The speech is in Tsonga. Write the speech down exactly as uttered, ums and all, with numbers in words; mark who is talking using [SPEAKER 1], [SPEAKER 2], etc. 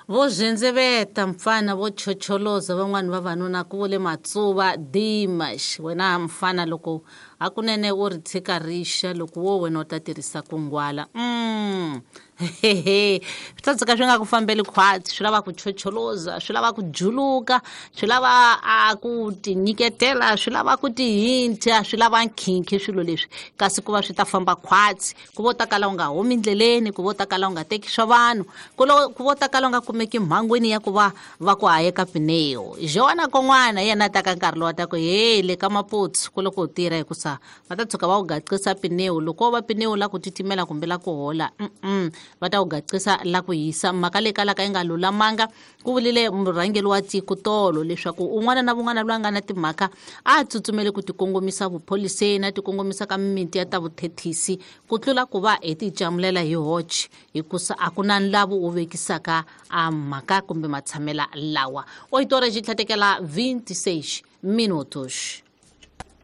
[SPEAKER 1] Vo zendzeveta mfana vo chocholoza van'wani vavanuna ku vule Matsuva Dimash. Wena mfana loko hakunene u ri tshika rixa loko wo wena u ta tirhisa kungwala. Mm. Hehe. Swi ta tshuka swi nga ku fambeli khwatsi, swi lava ku chocholoza, swi lava ku juluka, swi lava a ku tinyiketela, swi lava ku tihinta, swi lava nkhinkhi swilo leswi. Kasi ku va swi ta famba khwatsi, ku vo ta kala u nga humi ndleleni, ku vo ta kala u nga teki swa vanhu, ku lo ku vo ta kala u nga kumeki mhangwini ya ku va va ku hayeka pineo. Joana Kon'wana yena ta ka nkarhi lowu ta ku hey le ka Maputsu ku loko u tirha hikusa va ta tshuka va u gaqisa pineo, loko va pineo la ku titimela kumbe la ku hola, mm va ta u gaqisa la ku hisa. Mhaka leyi kalaka yi nga lulamanga, ku vulile murhangeri wa tiko tolo leswaku un'wana na un'wana loyi a nga na timhaka a tsutsumele ku tikongomisa vupholiseni, a tikongomisa ka mimiti ya ta vuthethisi ku tlula ku va hi ticamulela hi hoche, hikusa a ku na nlavu wu vekisaka a mhaka kumbe matshamela lawa. Oito horas e tlhatekela vinte e seis minutos.